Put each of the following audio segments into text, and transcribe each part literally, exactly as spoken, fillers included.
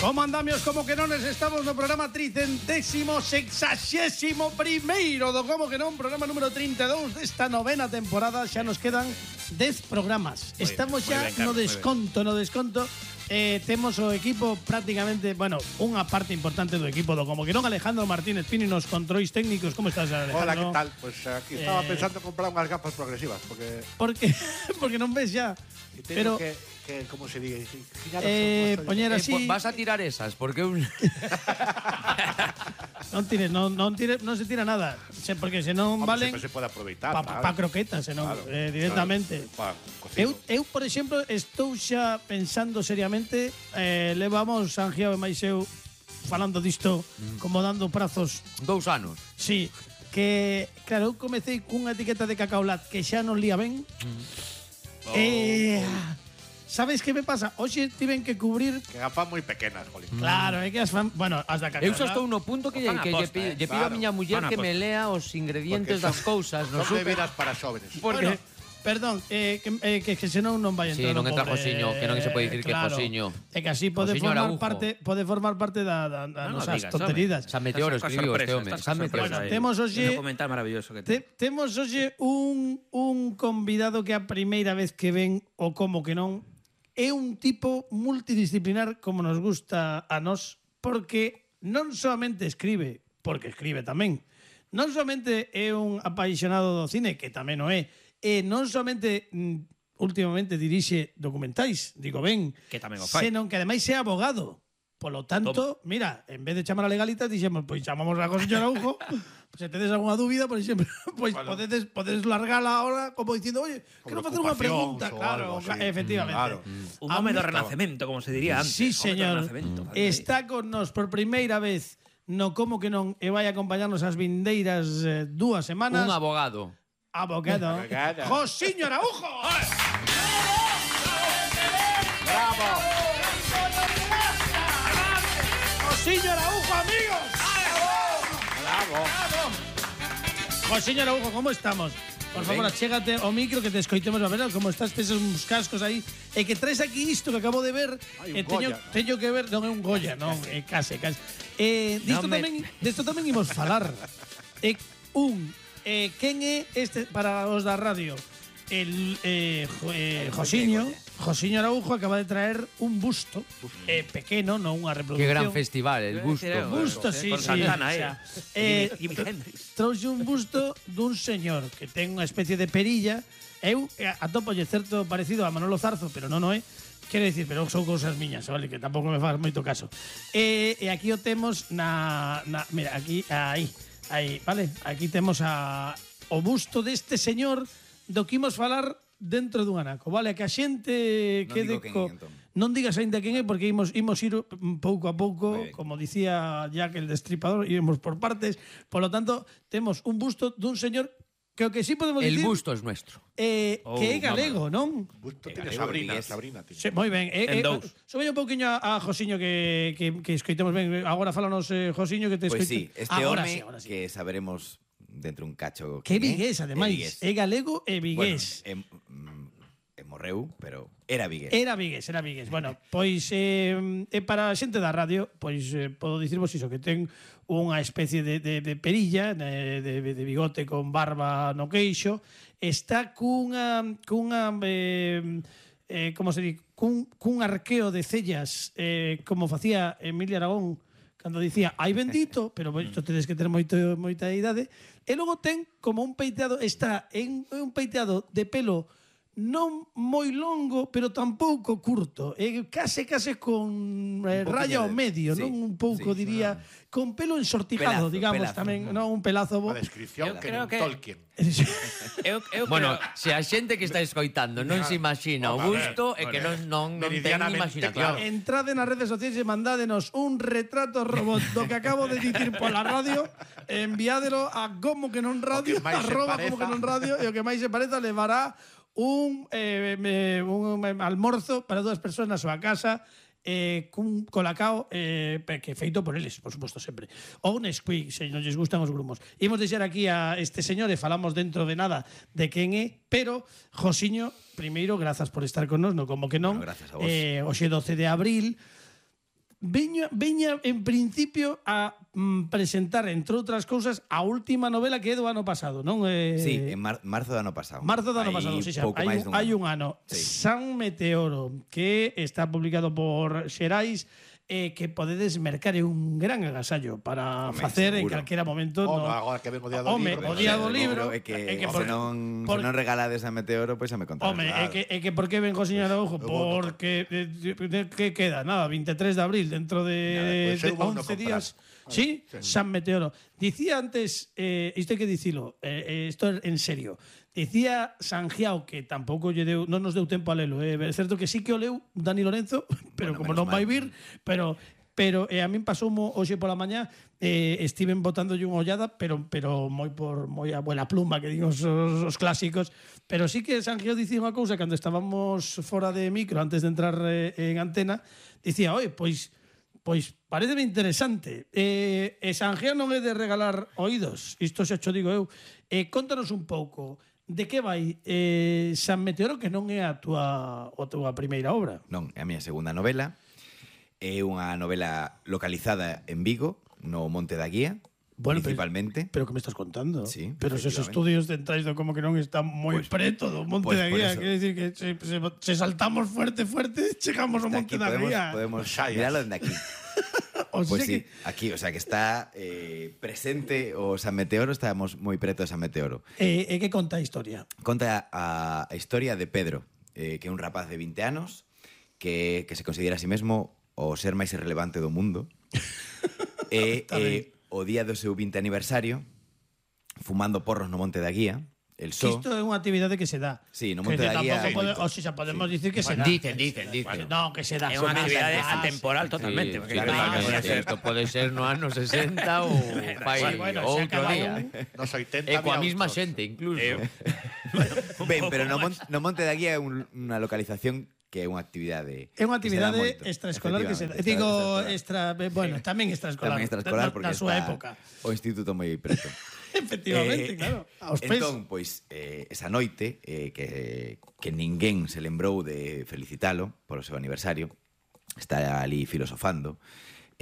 Como andamios, como que non, estamos no programa tricentésimo sexaxésimo primeiro do Como que non, programa número trinta e dous desta novena temporada. Xa nos quedan dez programas. Muy Estamos bien, xa bien, Carlos, no desconto, no desconto. Eh, temos o equipo prácticamente, bueno, unha parte importante do equipo do Como que non. Alejandro Martínez Pini nos controis técnicos. Como estás, Alejandro? Hola, que tal? Pues aquí estaba eh... pensando en comprar unhas gafas progresivas, porque ¿Por qué? Porque non ves xa. Pero que, que como se diga, eh, poñer así. Eh, vas a tirar esas, porque un non tires, non non tires, non se tira nada, porque senón valen se pode aproveitar para pa, pa croquetas, senón claro, eh, directamente. Claro, eu eu por exemplo estou xa pensando seriamente, eh, levamos Angiao e máis eu falando disto, mm. como dando prazos dous anos. Sí, que claro, eu comecei cunha etiqueta de Cacaolat que xa non lía ben. Mm. Oh. Eh, sabes que me pasa? Hoxe tiven que cubrir que gafas moi pequenas, jolín. Claro, é que as fan, bueno, as da Cacaolat. Eu xa estou no punto que, que lle pido, eh, pido claro. a miña muller que me lea os ingredientes son, das cousas, non son bebidas para xóvenes. Porque bueno, perdón, eh, que, eh, que, que senón non vai entrar. Sí, non entra Josiño, que non se pode dicir claro, que Josiño. É que así pode Josiño formar Araujo. parte, pode formar parte da, da, da no, nosas no tonterías. San Meteoro escribiu este home, San Meteoro. Bueno, temos hoxe un documental maravilloso que te, temos hoxe un un convidado que a primeira vez que ven o Como que non é un tipo multidisciplinar como nos gusta a nós, porque non solamente escribe, porque escribe tamén. Non solamente é un apaixonado do cine, que tamén o é, e non somente mm, últimamente dirixe documentais, digo ben, que tamén o fai, senón que ademais é abogado. Polo tanto, Toma. mira, en vez de chamar a Legalitas, dixemos, pois chamamos a José Araujo. Se tedes algunha dúbida, por exemplo, pois bueno. podedes, podedes largala ahora como dicindo, oye, quero facer unha pregunta. Claro, efectivamente. Claro. Mm. Un home do Renacemento, como se diría antes. Sí, señor. Está con nos por primeira vez no Como que non e vai acompañarnos as vindeiras eh, dúas semanas. Un abogado. Abogado. Josiño Araujo. Bravo. Josiño Araujo, amigos. Bravo. Bravo. Josiño Araujo, ¿cómo estamos? Por favor, achégate ao micro que te escoitemos a ver como estás, tes uns cascos aí e que traes aquí isto que acabo de ver. Ay, eh, teño, teño que ver, non é un Goya, non, é case, case. Eh, disto no me... tamén, disto tamén imos falar. Eh, un eh, quen é este para os da radio? El eh, jo, eh, Josiño, Josiño Araujo acaba de traer un busto eh, pequeno, non unha reproducción. Que gran festival, el busto. Un busto, sí, con sí. Santana, o sea, eh. eh, trouxe un busto dun señor que ten unha especie de perilla. Eu atópolle certo parecido a Manolo Zarzo, pero non o é. Quero dicir, pero son cousas miñas, vale, que tampouco me faz moito caso. E, e aquí o temos na, na mira, aquí, aí, aí, vale? Aquí temos a o busto deste señor do que imos falar dentro dun anaco, vale? Que a xente non quede co... Entón. Non digas aínda quen é, porque imos, imos ir pouco a pouco, como dicía Jack el Destripador, iremos por partes. Por lo tanto, temos un busto dun señor que o que sí podemos el dicir... El busto é nuestro. Eh, oh, que é galego, non? Busto tiene Sabrina, Sabrina tiene. Sí, moi ben. Eh, eh, Sobe un pouquiño a, a Josiño que, que, que escoitemos ben. Agora fálanos, eh, Josiño, que te pues escoite. Pois sí, este agora home sí, ahora sí. Que saberemos dentro un cacho que vigués, ademais, é galego e vigués. Bueno, e, e morreu, pero era vigués. Era vigués, era vigués. Bueno, pois eh, eh, para a xente da radio, pois eh, podo dicirvos iso, que ten unha especie de, de, de perilla, de, de, de bigote con barba no queixo, está cunha cunha eh, eh, como se di, cun, cun arqueo de cellas, eh, como facía Emilia Aragón cando dicía, ai bendito, pero isto tedes que ter moito, moita idade, e logo ten como un peiteado, está en un peiteado de pelo non moi longo, pero tampouco curto, e case case con eh, raya ao medio, sí, non un pouco sí, diría, no. Con pelo ensortijado, pelazo, digamos, pelazo, tamén, no. non un pelazo. A descripción eu que non que... Tolkien. eu, eu bueno, creo... se a xente que está escoitando non se imagina o busto, é que non non non ten imaginación. Claro. Entrade nas redes sociais e mandádenos un retrato robot do que acabo de dicir pola radio, enviádelo a como que non radio, arroba como que non radio, e o que máis se pareza levará un, eh, un almorzo para dúas persoas na súa casa eh, cun colacao eh, que feito por eles, por suposto, sempre. Ou un Nesquik, se non lles gustan os grumos. Imos deixar aquí a este señor e falamos dentro de nada de quen é, pero, Josiño, primeiro, grazas por estar con nos, no como que non. Bueno, grazas a vos. Eh, hoxe doce de abril, veña, veña en principio a mm, presentar, entre outras cousas, a última novela que é do ano pasado, non? Eh, Sí, en mar marzo do ano pasado. Marzo do ano Hai pasado, sí, xa, pouco hai, máis un, dun hai ano. un ano. Sí. San Meteoro, que está publicado por Xerais, eh, que podedes mercar é un gran agasallo para Home, facer en seguro. calquera momento. Home, no. agora que ven o día do Home, libro, o ben, día sí, do no, libro, É que, é que se, por- non, por- se non regalades a Meteoro, pois xa me contarás. Home, é claro. que, é que por que ven co señor Araujo? Porque eh, de- que queda? Nada, veintitrés de abril, dentro de, Nada, pois eu de vou no once comprar. días. Sí, San Meteoro. Dicía antes, eh, isto hai que dicilo, eh, eh, isto é en serio. Dicía Sanjiao que tampouco lle deu, non nos deu tempo a lelo, eh. É certo que sí que o leu Dani Lorenzo, pero Bueno, como menos non vai mal. vir, pero pero eh, a min pasou hoxe pola mañá, eh, estiven botándolle unha ollada, pero pero moi por moi a buena pluma que din os, os, os clásicos, pero sí que Sanjiao dicía unha cousa cando estábamos fora de micro antes de entrar eh, en antena, dicía, "Oi, pois Pois pareceme interesante. Eh, e Sanjiao non é de regalar oídos, isto xa cho digo eu. Eh, contanos un pouco de que vai eh, San Meteoro, que non é a túa, a túa primeira obra. Non, é a miña segunda novela. É unha novela localizada en Vigo, no Monte da Guía, Bueno, principalmente. Pero que me estás contando? Sí, Pero esos efectivamente. estudios centrais do como que non están moi Pues- preto do Monte pues da por Guía. eso. Quer decir que se, se, se saltamos fuerte, fuerte, chegamos ao Está Monte aquí, da podemos, Guía. podemos Xallas. miralo dende aquí. O sea Pois sí, que, aquí, o sea que está eh, presente o San Meteoro, estamos moi preto de San Meteoro. eh, eh, que conta a historia? Conta a, a historia de Pedro, eh, que é un rapaz de vinte anos que, que se considera a sí mesmo o ser máis irrelevante do mundo. e Está ben. eh, o día do seu vinte aniversario, fumando porros no Monte da Guía, el Que só... isto é unha actividade que se dá. Sí, no Que Monte da tampouco Guía hai pode- moito. O sea, podemos dicir que se Bueno, dá. dicen, dicen, dicen. No, que se dá. É unha Son actividade máis- atemporal totalmente. Sí, porque sí, claro, claro, que pode sí, ser- isto pode ser no ano sesenta ou fai Sí, bueno, se outro acaba día. un- Nos oitenta E coa había mesma outros. xente, incluso. Eh, Ben, pero no, Mon- no Monte da Guía é un, unha localización que é unha actividade É unha que se dá actividade moito, extraescolar que se dá. efectivamente, Digo, extraescolar. extra, bueno, tamén extraescolar. Tamén extraescolar na, porque na súa está época. o instituto moi preto. Efectivamente, Eh, claro. Aos pés. Entón, pois, eh, esa noite eh, que, que ninguén se lembrou de felicitalo polo seu aniversario, está ali filosofando,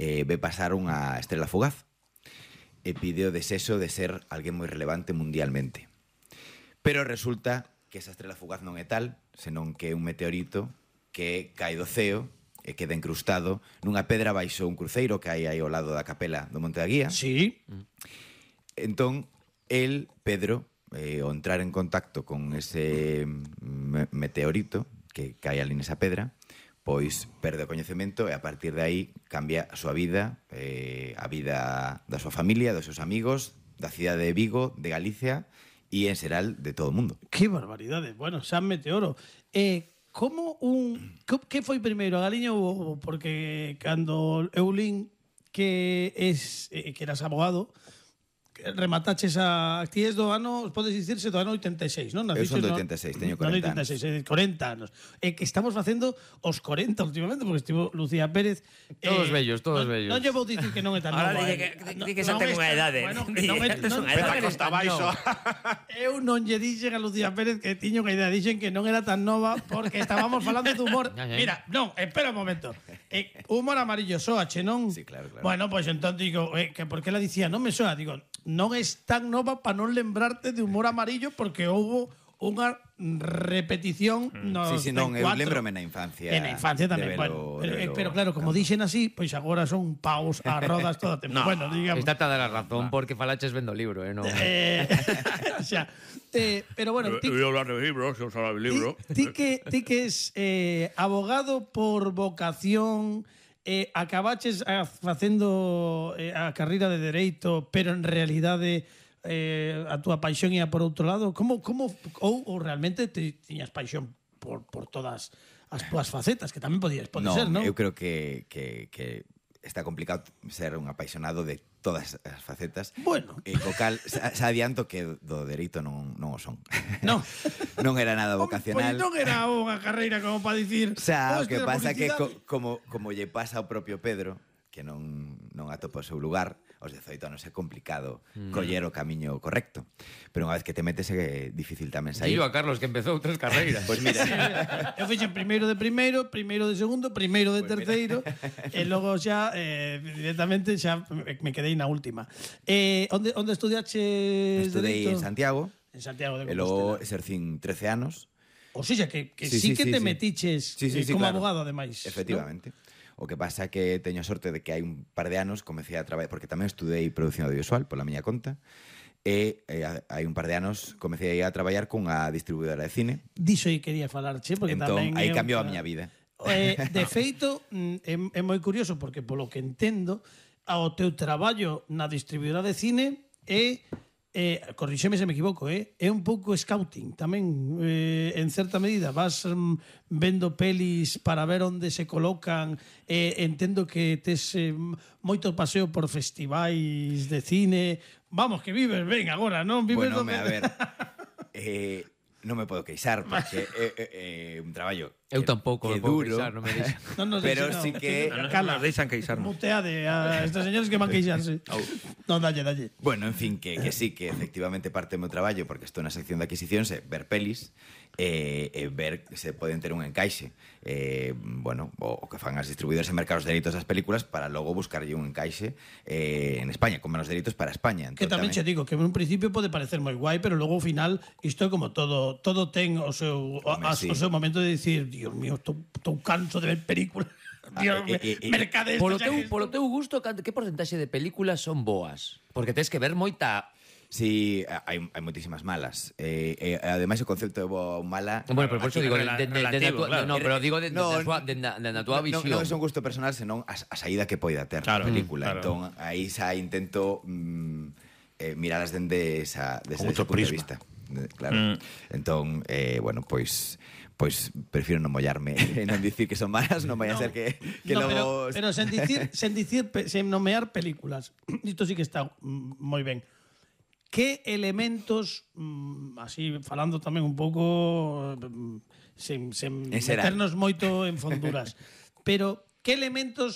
eh, ve pasar unha estrela fugaz e pide o desexo de ser alguén moi relevante mundialmente. Pero resulta que esa estrela fugaz non é tal, senón que é un meteorito que cae do ceo e queda encrustado nunha pedra baixo un cruceiro que hai aí ao lado da capela do Monte da Guía. Sí. Entón, el, Pedro, eh, ao entrar en contacto con ese me meteorito que cae ali nesa pedra, pois perde o coñecemento e a partir de aí cambia a súa vida, eh, a vida da súa familia, dos seus amigos, da cidade de Vigo, de Galicia e en xeral de todo o mundo. Que barbaridade. Bueno, San Meteoro. Eh, como un... co- Que foi primeiro, a galiña ou o ovo? Porque cando eu lin que es eh, que eras abogado, que remataches a... Ti es do ano, podes dicirse do ano oitenta e seis, non? Eu son Naciches do no- oitenta e seis, teño no ano corenta oitenta e seis, eh, corenta anos. E que estamos facendo os corenta últimamente, porque estivo Lucía Pérez... Todos vellos, todos non, vellos. Non lle vou dicir que non é tan Ahora nova. di eh. que- di- No- di que xa non ten é unha tan- idade. Bueno, que Di, non é- "Esto es non- unha Peta edade". costa baixo. Eu non lle dixen a Lucía Pérez que tiña unha idea, dixen que non era tan nova porque estábamos falando de humor. Ya, ya. Mira, non, espera un momento. Eh, humor amarillo soa, che, non? Sí, claro, claro. Bueno, pois pues, entón digo, eh, que por que la dicía, non me soa, digo, non es tan nova para non lembrarte de humor amarillo porque houbo unha repetición nos Sí, sí, non, eu veinticuatro. lembrome na infancia. En a infancia tamén, de bueno. velo- Pero, de eh, velo pero claro, como cando- dixen así, pois agora son paus a rodas todo o tempo. No, bueno, digamos. Está toda a razón porque falaches vendo o libro, eh, non. Eh, o sea, eh, pero bueno, ti, hablar de libros, eu hablar de ti, ti que, ti que es eh, abogado por vocación, eh, acabaches a, facendo eh, a carreira de Dereito, pero en realidade eh, a túa paixón ia por outro lado. Como, como, ou, ou realmente te, tiñas paixón por, por todas as túas facetas, que tamén podías, pode No, ser, non? eu creo que, que, que está complicado ser un apaixonado de todas as facetas. Bueno. E co cal, xa, xa adianto que do dereito non, non o son. Non. non era nada Home, vocacional. Pois non era unha carreira como para dicir... O sea, o "Hostia, que pasa que publicidade". co, como, como lle pasa ao propio Pedro, que non, non atopa o seu lugar, aos dezoito anos é complicado mm. coller o camiño correcto. Pero unha vez que te metes é difícil tamén sair. Dillo a Carlos que empezou tres carreiras. Pois pues mira, sí, eu fixen primeiro de primeiro, primeiro de segundo, primeiro de terceiro, e logo xa eh, directamente xa me quedei na última. Eh, onde onde estudiaches estudei dereito? en Santiago. En Santiago de E logo Compostela. exercín trece anos. O sea, que, que Sí, sí, sí, que sí, te sí. metiches Sí, sí, eh, sí, como claro. abogado, ademais. Efectivamente. ¿No? O que pasa é que teño sorte de que hai un par de anos comecei a traballar, porque tamén estudei produción audiovisual pola miña conta, e eh, hai un par de anos comecei a traballar cunha distribuidora de cine. Diso aí quería falarche, porque Entón, tamén... aí é cambiou a outra- miña vida. Eh, de feito, mm, é, é moi curioso, porque polo que entendo, ao teu traballo na distribuidora de cine é... Eh, corríxeme se me equivoco, eh? É un pouco scouting tamén, eh, en certa medida vas mm, vendo pelis para ver onde se colocan, eh, entendo que tes eh, moito paseo por festivais de cine, vamos, que vives ben agora, non? Vives Bueno, do me, que- a ver, eh, non me podo queixar, porque é, é, é un traballo Eu que- tampouco que me podo duro, queixar, non me deixa. Non nos pero deixe, sí no. que... Non, non, Cala. nos deixan queixarnos. Muteade a estes señores que van queixarse. Non, dalle, dalle. Bueno, en fin, que, que sí, que efectivamente parte do meu traballo, porque estou na sección de adquisicións, é ver pelis e, e ver se poden ter un encaixe. Eh, bueno, o, o que fan as distribuidoras e mercados de dereitos das películas para logo buscarlle un encaixe eh, en España, con menos dereitos para España. Que Entón, tamén che digo que en un principio pode parecer moi guai, pero logo ao final isto é como todo, todo ten o seu o, Home, a, sí. o seu momento de dicir, Dios mío, estou, estou canso de ver películas. Dios, eh, eh, eh, mercades. Polo teu, polo teu gusto, canto- que porcentaxe de películas son boas? Porque tens que ver moita... Sí, hai, hai moitísimas malas. Eh, eh, ademais, o concepto de boa ou mala... Bueno, pero por eso Aquí digo, de, rela- de, de, de, relativo, tua- claro. no, pero digo de, de, No, de, de, de, de na tua no, visión. Non é un gusto personal, senón a, a saída que poida ter Claro, a película. claro. Entón, aí xa intento mm, eh, miralas dende esa, desde Con ese outro punto de prisma. vista. De- Claro. Mm. Entón, eh, bueno, pois pois prefiro non mollarme e non dicir que son malas, non vai a ser que, que no, logo... pero, pero sen dicir, sen dicir, pe- sen nomear películas. Isto sí que está mm, moi ben. Que elementos, mm, así falando tamén un pouco mm, sen, sen En xeral. meternos moito en fonduras, pero que elementos